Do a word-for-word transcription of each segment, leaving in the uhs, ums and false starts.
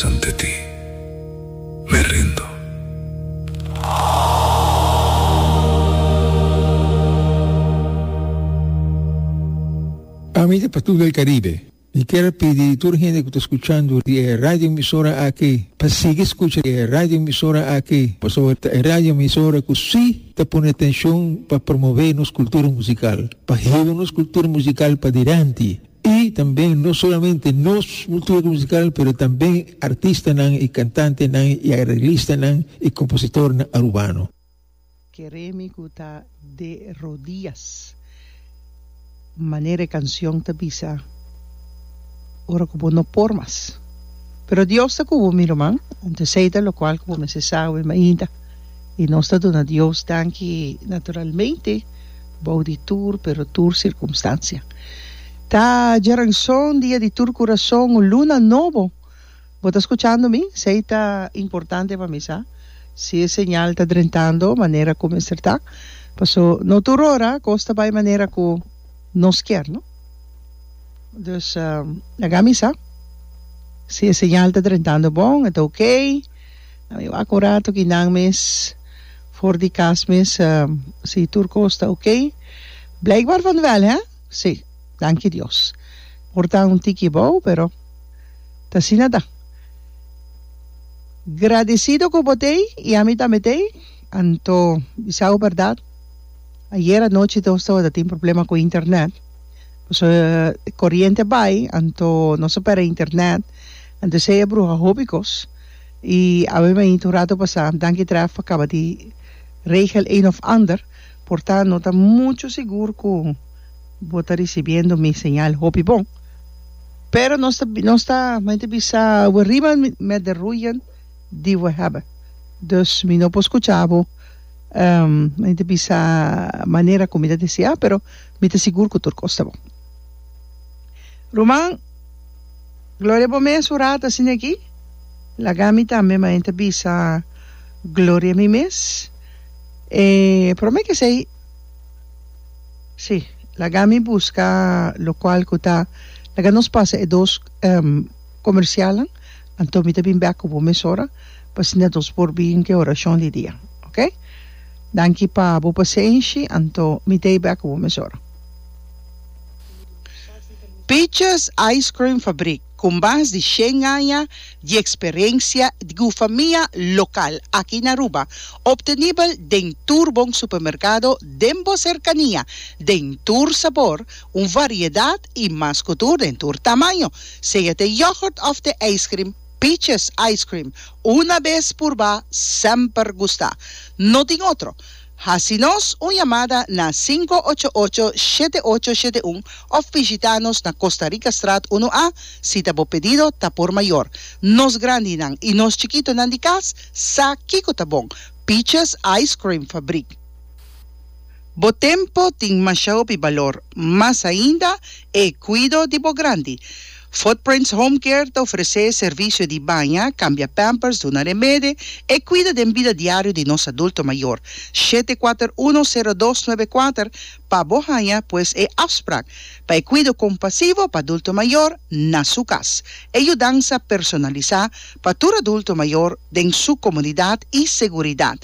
Ante ti me rindo. Ami ta Patul del Caribe. Mi kier pidi tur hende cu ta scuchando di e radio emisora aki pa sigui scucha e radio emisora aki, pasobra ta e radio emisora cu si ta pone atencion pa promove nos cultura musical, pa hiba nos cultura musical padilanti y tambe no solamente nos cultura musical pero tambe artistanan y cantantenan y arreglistanan y compositornan Arubano. Kere mi ku ta de rodias. Manera e kansion ta bisa, ora ku bo no por mas. Pero Dios ta ku bo, mi ruman. Anto esei ta lokual ku bo mester sa awe mainta. I nos ta duna Dios danki naturalmente bou di tur pero tur sirkumstansia. Ta djaranson, dia di tur kurason, un luna nobo. Bo ta skuchando mi? Esei ta importante pa mi sa si e señal ta drentando manera ku mester ta. Paso no tur ora kos ta bai manera ku nos kier, no? Dus laga mi sa si e señal ta drentando bon, e ta okey. Mi wak un rato ki nan mes for di kas mes si tur kos ta okey. Blijkbaar van wel, hè? Sí, danki Dios. Por ta un tiki bou, pero ta asina ta. Gradecido cu bo t'ey y ami tambe t'ey. Anto bisa bo berdad, ayer anochi nos tabata tin problema cu internet. Pasobra coriente a bay, anto nos a perde internet. Anto esey a bruha hopi cos. Y awe mainta un rato pasa, danki Tref pa caba di regel een of ander. Por ta no ta mucho sigur cu bo ta ricibiendo mi señal hopi bon. Pero nos ta, nos ta, mi ta bisa, we riemen met de roeien die we hebben. Dus mi no por scucha bo, mi ta bisa manera cu mi ta desea, pero mi ta sigur cu tur cos ta bon. Ruman, gloria bo mes un rato asina aki. Laga mi tambe, mi ta bisa, gloria mi mes. E prome cu esey. Sí, laga mi buska lokual ku ta, laga nos pasa e dos komersialnan, anto mi ta bin bèk ku bo mesora pa asina nos por bin ku e orashon di dia, oke? Danki pa bo pasenshi, anto mi ta ei bèk ku bo mesora. Peaches Ice Cream Fabriek ku mas di shen aña di eksperensia di famia lokal aki na Aruba, obtenibel den tur bon supermerkado den bo serkania, den tur sabor, un variedat i mas ku tur den tur tamaño, sea te yoghurt òf te ijskrim. Peaches Ice Cream, una bes purba, semper gusta. No tin otro. Hasi nos un yamada na sinku ocho ocho, shete ocho shete un òf bishitá nos na Costa Ricastraat unu A si ta bo pedido ta por mayor. Nos grandinan i nos chikitonan di kas sa kiko ta bon. Peaches Ice Cream Fabriek. Bo tempo tin masha hopi balor, mas ainda e cuido di bo grandi. Footprints Home Care ta ofrece servicio di baña, cambia pampers, duna remede, e cuido den bida diario di nos adulto mayor. Shete kuater uno sero dos nuebe kuater pa bo haña pues e afspraak pa e cuido compasivo pa adulto mayor na su cas. E yudansa personalisa pa tur adulto mayor den su comunidad y seguridad.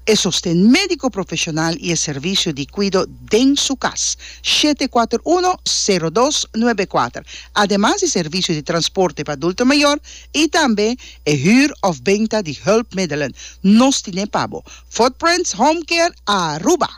E sosten médiko profeshonal i e servisio di kuido den su kas. Shete kuater uno, sero dos, nuebe kuater. Ademas di servisio di transporte pa adulto mayor i tambe e hür òf benta di hulpmiddelen. Nos tine pa bo. Footprints Home Care Aruba.